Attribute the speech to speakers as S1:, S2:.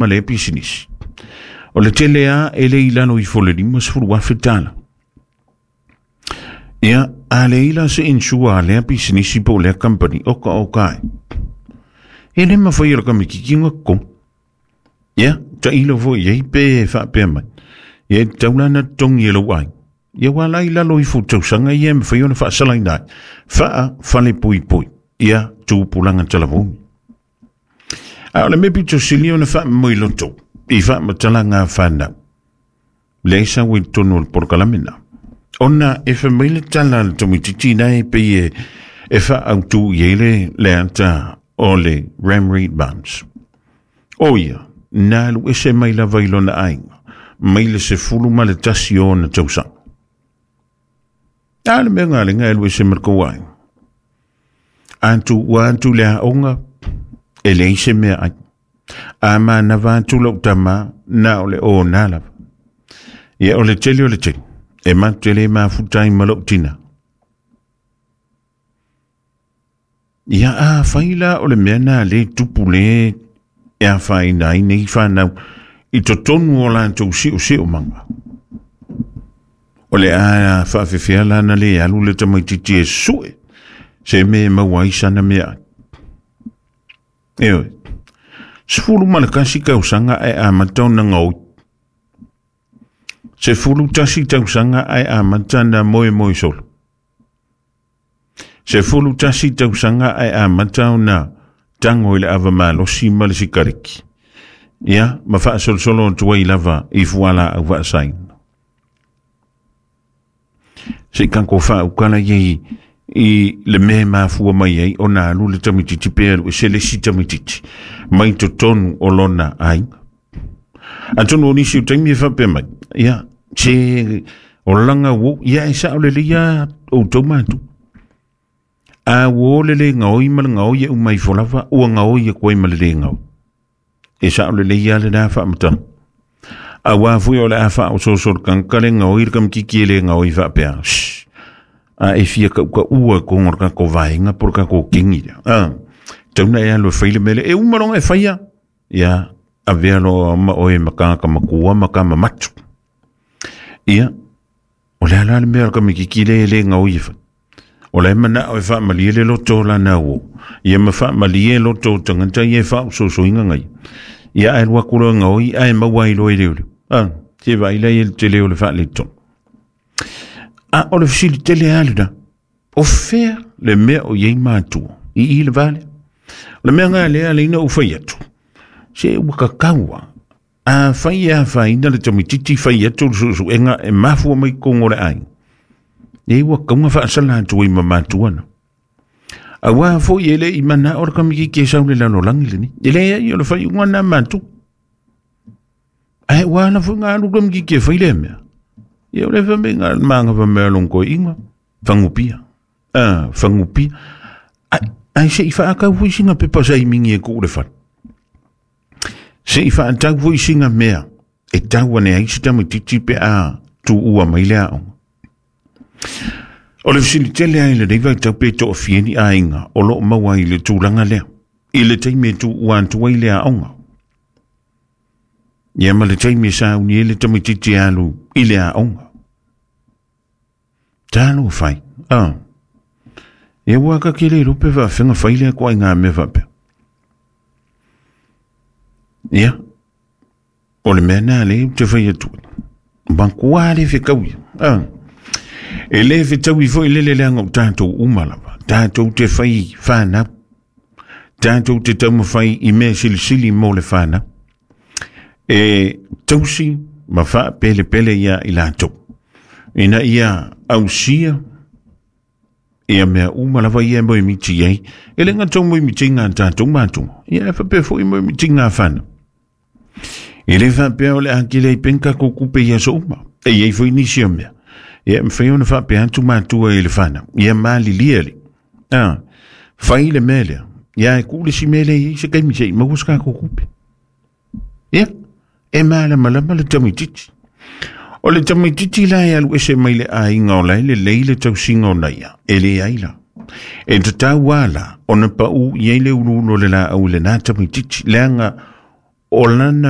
S1: Ma lea pisinisi. O le tele lava e le i lalo ifo o le $50,000. Ia, a leai la se insure a lea pisinisi po o lea company, oka oka ai. E le mafai e le kamititi ona totogi. Ia, tailo foi i ai pe faapea mai. Ia, e tatau la ona totogi e lou aiga. Ia, aua la i lalo ifo o tausaga ia e mafai ona faasalaina ai. Faa-falepuipui. Ia, tupulaga talavou. A o le mea pito sili ona faamoemoe i faamatalaga a fanau, lea e sau ai i totonu o le polokalame na. Ona e fai mai le tala a le tamaitiiti na e pei e faaautu i ai le ata o le Ramree Mums. O ia, na alu ese mai lava i lona aiga, mai le 11 o ona tausaga. A le mea galega e alu ese ma le kou aiga. A tuua atu le aoga, e leai se mea ai. A manava atu lau tama, na o le ona lava. Ia o le tele o le tele, e matou te le mafuta ai ma lou tina. Ia a fai la o le mea na le tupu le e afaina ai nei whanau i totonu o latou siosiomaga. O le a faafefea la na le alu le tamaitiiti e sue se mea e maua ai sana meaai. Ioe. 11 tausaga ae amata ona gaoi. 11 tausaga ae amata ona moemoe solo. 11 tausaga ae amata ona tago i le ava malosi ma le sikareki. Ia, ma faasolosolo atu ai lava i fualaau faasaina. Se i tatou faaukala i i le mea e mafua mai ai ona alu le tamaitiiti pe alu ese le isi tamaitiiti mai totonu o lona aiga. Atonu o nisi o taimi e faapea mai, ia, se o laga uou, ia e sao lelei lava outou matua. A uo le le gaoi ma le gaoi e uma ifo lava, ua gaoi atu ai ma le le gaoi. E sao lelei lava lena faamatalaga. Aua foi o le a faaosooso le tagata le gaoi le kamititi e le gaoi faapea. Shh. A e fia kaukau i totonu o le tatou vaega po o le tatou kegi lea. A, tau na e alu e fai le mea lea. E uma loa ona e faia. Ia, avea loa ma oe ma tagata matua ma tama matu. Ia, o le a la le mea o le kamititi lea e le gaoi e fai? O la e manao e faamalie le loto o lana uo. Ia ma faamalie loto o tagata ia e faaosoosoina ngai. Ia ae alu atu loa gaoi ae maua ai loa e leoleo. A, se vaai la i le tele o le faaletonu. A o le fesili tele lava lena. O fea le mea o i ai matua i i le va lea? O le mea lena lea alai na ou fai atu. Se ua tatau lava. A fai e afaina le tamaitiiti fai atu le suesuega e mafua mai totonu o le aiga, e ua tatau ona faasala atu ai ma matua na. Aua foi e le i manao le tamaitiiti e sau i le lalolagi lenei. E leai o le faaiuga lena a matua. Ae ua ala foi ona alu le tamaitiiti e fai lea mea. Ia o le fai mai na manava mai a lona toeaina, fagupia. A, fagupia. Ai, ai se i faatau foi sina pepa saimini e tuu i le fale. Se i faatau foi sina mea e tau ane ai se tamaitiiti pe a tuua mai le aoga. O le fesili tele lava i lenei vaitau pe toafia ni aiga o lo o maua ai i le tulaga lea, i le taimi e tuua atu ai le aoga. Ia ma le taimi e sauni ai le tamaitiiti e alu i le aoga. Talofa e. Ah. Ia ua ka ke le iloa pe faafefea ona fai lea ituaiga mea faapea. Ia, o le mea lena lea ou te fai atu ai. Matua le fetaui. Ah. E le fetaui foi lele leaga o tatou uma lava. Tatou te fai fanau. Tatou te taumafai i mea silisili mo le fanau. E tausi ma faapelepele ia i latou. Ina ia ausia ia mea uma lava ia e moemiti ai. E le gata o moemitiga a tatou matua, ia e faapea foi moemitiga a fanau. E le faapea o le a kele ai pea ni tatou tupe i aso uma. E i ai foi nisi o mea. Ia e mafai ona faapea atu matua i le fanau. Ia malilie le. A, fai le mea lea. Ia e tuu le isi mea lea e i ai se taimi se i maua se tatou tupe. Ia, e malamalama le tamaitiiti. O le tamaitiiti la e alu ese mai le aiga o la e lelei le tausiga o naia, e leai la. E tatau lava la ona pau i ai le uluulu o le laau i lena tamaitiiti, leaga O lana.